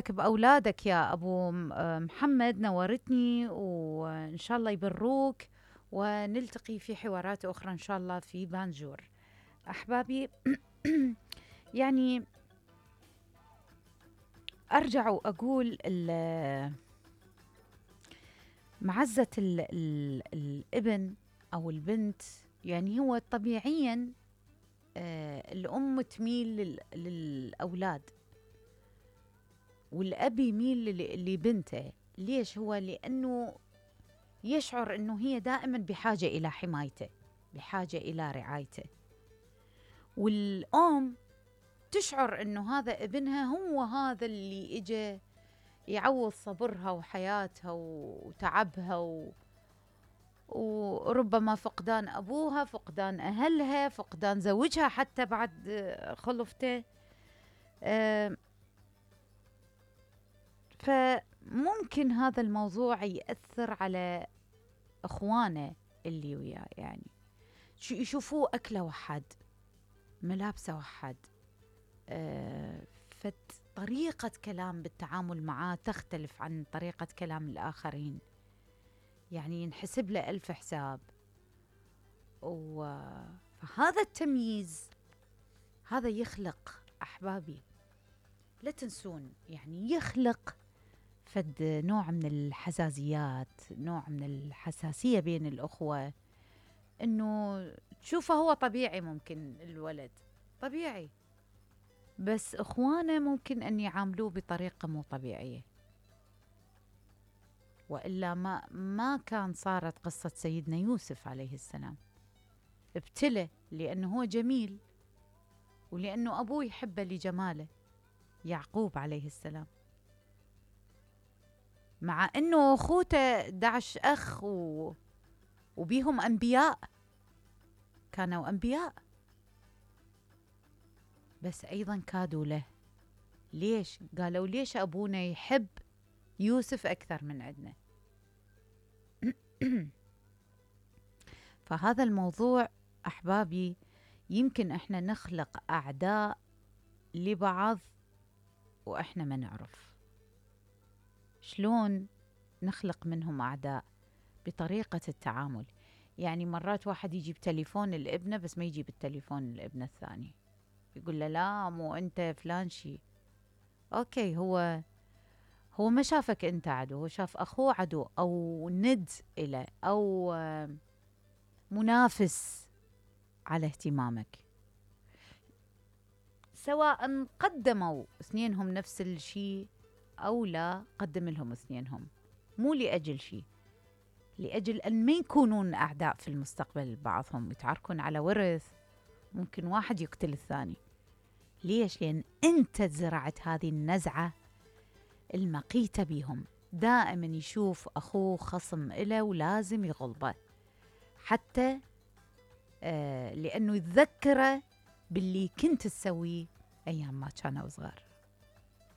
لك بأولادك يا أبو محمد، نورتني، وإن شاء الله يبروك، ونلتقي في حوارات أخرى إن شاء الله في بانجور. أحبابي يعني أرجع وأقول معزة الابن أو البنت، يعني هو طبيعياً الأم تميل للأولاد، والأب يميل لبنته. ليش؟ هو لأنه يشعر أنه هي دائماً بحاجة إلى حمايته، بحاجة إلى رعايته. والأم تشعر أنه هذا ابنها هو هذا اللي إجا يعوض صبرها وحياتها وتعبها وربما فقدان أبوها، فقدان أهلها، فقدان زوجها حتى بعد خلفته. فممكن هذا الموضوع يأثر على إخوانه اللي وياه، يعني يشوفوه أكله وحد، ملابسه وحد، فطريقة كلام بالتعامل معاه تختلف عن طريقة كلام الآخرين، يعني ينحسب له ألف حساب. فهذا التمييز هذا يخلق، أحبابي لا تنسون، يعني يخلق فد نوع من الحزازيات، نوع من الحساسية بين الأخوة، إنه تشوفه هو طبيعي، ممكن الولد طبيعي، بس إخوانه ممكن أن يعاملوه بطريقة مو طبيعية، وإلا ما كان صارت قصة سيدنا يوسف عليه السلام. ابتلى لأنه هو جميل، ولأنه أبوه يحبه لجماله، يعقوب عليه السلام، مع أنه أخوته 11 أخ وبيهم أنبياء، كانوا أنبياء، بس أيضا كادوا له. ليش؟ قالوا ليش أبونا يحب يوسف أكثر من عندنا؟ فهذا الموضوع أحبابي يمكن إحنا نخلق أعداء لبعض وإحنا ما نعرف شلون نخلق منهم أعداء، بطريقة التعامل. يعني مرات واحد يجيب تليفون الابنة بس ما يجيب التليفون الابنة الثاني، يقول له لا مو أنت فلان شي. أوكي، هو ما شافك أنت عدو، هو شاف أخوه عدو، أو ند إله، أو منافس على اهتمامك. سواء قدموا اثنينهم نفس الشيء أو لا قدم لهم اثنينهم، مو لأجل شيء، لأجل أن ما يكونون أعداء في المستقبل بعضهم، يتعاركون على ورث، ممكن واحد يقتل الثاني. ليش؟ لأن أنت زرعت هذه النزعة المقيتة بهم، دائما يشوف أخوه خصم إله ولازم يغلبه، حتى لأنه يتذكره باللي كنت تسويه أيام ما كانوا صغار.